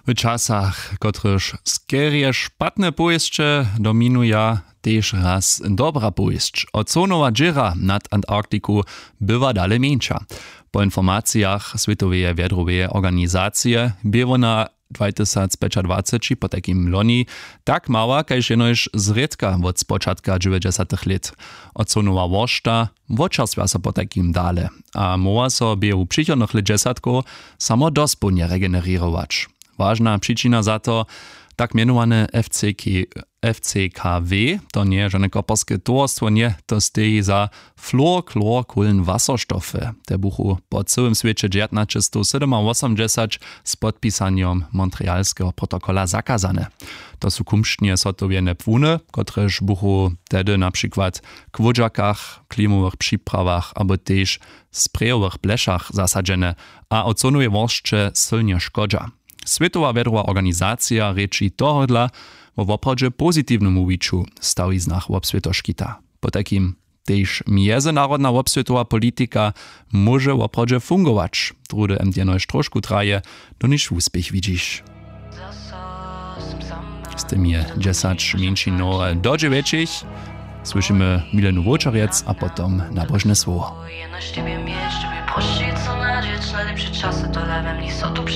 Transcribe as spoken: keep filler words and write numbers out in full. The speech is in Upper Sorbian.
W časach, kotrychž skerje špatne powěsće dominuja, tež raz dobra powěsć. Ozonowa dźěra nad Antarktiku była dale mjeńša. Po informacijach Swětoweje wjedroweje organizacije bě wona dwatysacpjećadwaceći, potajkim loni, tak mała kaž jenož zrědka wot spočatka dźewjećdźesatych lět. Ozonowa woršta wočerstwja so potajkim dale a móhła so běhu přichodnych lětdźesatkow samo dospołnje regenererować. Wažna přičina za to, tak mjenowane FCK, FCKW, to njeje žane koperske towarstwo, nje, to steji za fluorchlorkóhlenwaserstoffe. Te buchu po cyłym swěće dźewjatnaćestowsydomawosomdźesać z podpisanjom Montrealskeho protokola zakazane. To su kumšdnje zhotowjene płuny, kotrež buchu tehdy na přikład k wódźakach, klimowych připrawarach abo tež sprejowych blešach zasadźene a ozonowej woršće sylnje škodźa. Swětowa wjedrowa organizacija rěči tohodla wo woprawdźe pozitiwnym wuwiću w stawiznach wobswětoškita. Potajkim tež mjezynarodna wobswětowa politika móže woprawdźe fungować, druhdy mt jenož trošku traje, doniž wuspěch widźiš. Z tym je dźesać mjeńšinowe do dźewjećich. Słyšimy Milenu Wołčarjec a potom nabožne słowo. Jenož tebje měć, tebje prošić, so nadźeć, najlepše časy to dawem, niso tu před